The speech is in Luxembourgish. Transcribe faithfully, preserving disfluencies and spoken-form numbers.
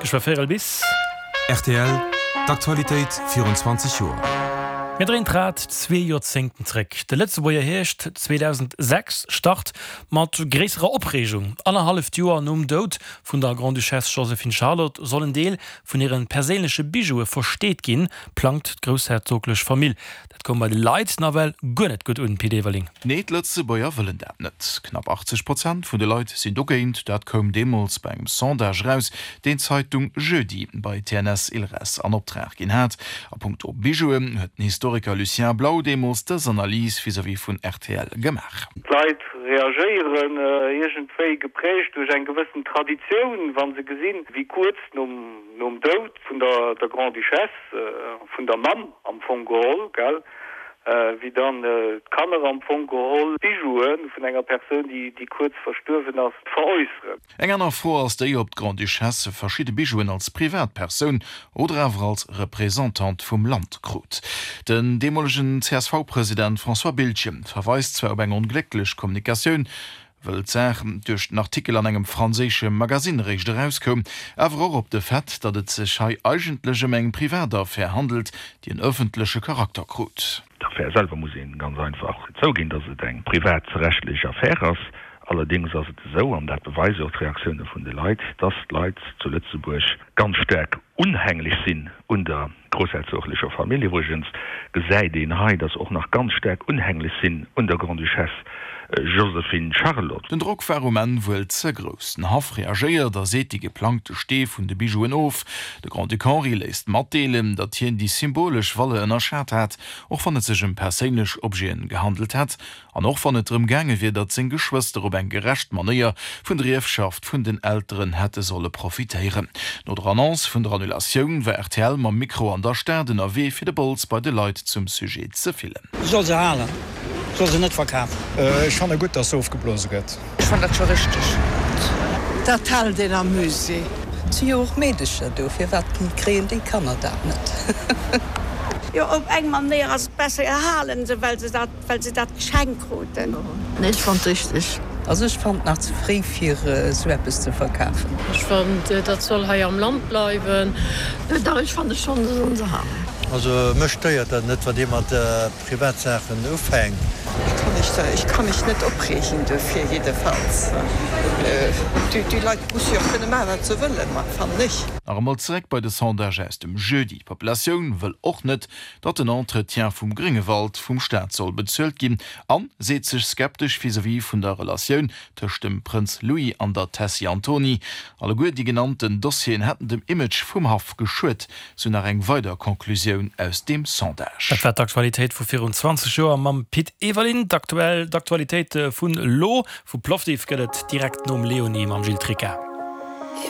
Geschwë véierel bis. Rtl, D'Aktualitéit virun zwanzeg Joer. Mir dréinen d'Rad zwee Joerzéngten zréck. De Lëtzebuerger Hierscht zweedausendsechs start mat gréisserer Opreegung. Annerhalleft Joer nom Doud vun der Grande-Duchesse Joséphine-Charlotte soll en Deel vun hire perséinleche Bijoue versteet ginn, plangt d'groussherzoglech Famill. Dat koum bei de Leit nawell guer net gutt un, Pit Everling. Nee, d'Lëtzebuerger wëllen dat net. Knapp achtzeg Prozent vun de Leit sinn dogéint. Dat koum deemools bei engem Sondage eraus, deen d'Zeitung Jeudi bei T N S Ilres an Optrag ginn hat. A punkto Bijouen huet den Historiker Lucien Blau deemools dës Analys vis-à-vis vun R T L gemaach. D'Leit reagéieren iergendwéi geprägt duerch eng gewëssen Traditioun, wa se gesinn, wéi kuerz nom nom Doud vun der der Grande-Duchesse, vun der Mamm am Fong geholl, gell, wéi dann d'Kanner am Fong geholl d'Bijoue vun enger Persoun, déi déi kuerz verstuerwen ass, veräusseren. Eng aner Fro ass déi, ob d'Grande-Duchesse verschidde Bijouen als Privatpersoun oder awer als Representante vum Land krut. Den deemolegen C S V-President François Biltgen verweist zwar op eng onglécklech Kommunikatioun, wëll d'Saach duerch den Artikel an engem franséische Magasinn eréischt erauskoum, awer och op de Fait, datt et sech hei eigentlech ëm eng Privataffär handelt, déi en ëffentleche Charakter krut. D'Affär selwer muss ee ganz einfach zouginn, datt et eng privatrechtlech Affär ass. Allerdéngs ass et esou, an dat beweise och d'Reaktioune vun de Leit, datt d'Leit zu Lëtzebuerg ganz staark unhänglech sinn un der groussherzoglecher Famill. Iwwregens gesäit een hei, datt se och nach ganz staark unhänglech sinn un der Grande-Duchesse Joséphine Charlotte. Den Drock war um Enn wuel ze grouss. Den Haff reagéiert a seet déi geplangte Stee vun de Bijouen of. De Grand-Duc Henri léisst matdeelen, datt hien déi symbolesch Valeur ënnerschat hat, och wann et sech ëm perséinlech Objeten gehandelt hätt an och wann et drëm gaange wier, datt seng Geschwëster op eng gerecht Manéier vun der Ierfschaft vun den Elteren hätte solle profitéieren. No der Annonce vun der Annulatioun war R T L mam Mikro an der Stad ënnerwee fir de Bols bei de Leit zum Sujet ze fillen. Soll se halen, soll se net verkafen. Ech fanne gutt, dass se ofgeblose gëtt. Ech fannen dat scho richteg. Dat hält een am Musée. Et si jo och Meedecher do, firwat kréien déi Kanner dat net? Jo, op eng Manéier ass et besser, halen se, well se dat, well se dat geschenkt kruten. Nee, ech fannt richteg. Also ech fannt nach ze fréi fir esou eppes ze verkafen. Ech fannt dat soll hei am Land bleiwen. Dach ech fanne schonn, se sollen se halen. Also mech stéiert dat net, wann dir mat Privatsaachen ufänkt. Ech ka mech net opreegen dofir, jiddefalls. Déi Leit musse jo och kënne maachen, wat se wëllen, fannen ech. Nach emol zeréck bei de Sondage aus dem Jeudi. D'Populatioun wëll och net, datt den Entretien vum Gréngewald vum Staat soll bezuelt ginn an seet sech skeptesch vis-à-vis vun der Relatioun tëscht dem Prënz Louis an der Tessy Antony. Alleguer déi genannten Dossieren hätten dem Image vum Haff geschuet, sou nach eng weider Conclusioun aus deem Sondage. Dat war d'Aktualitéit vu virun zwanzeg Joer mam Pit Everling. D'aktuell d'Aktualitéit vun elo vu Plovdiv gëtt et direkt nom Léonie mam Gilles Tricca.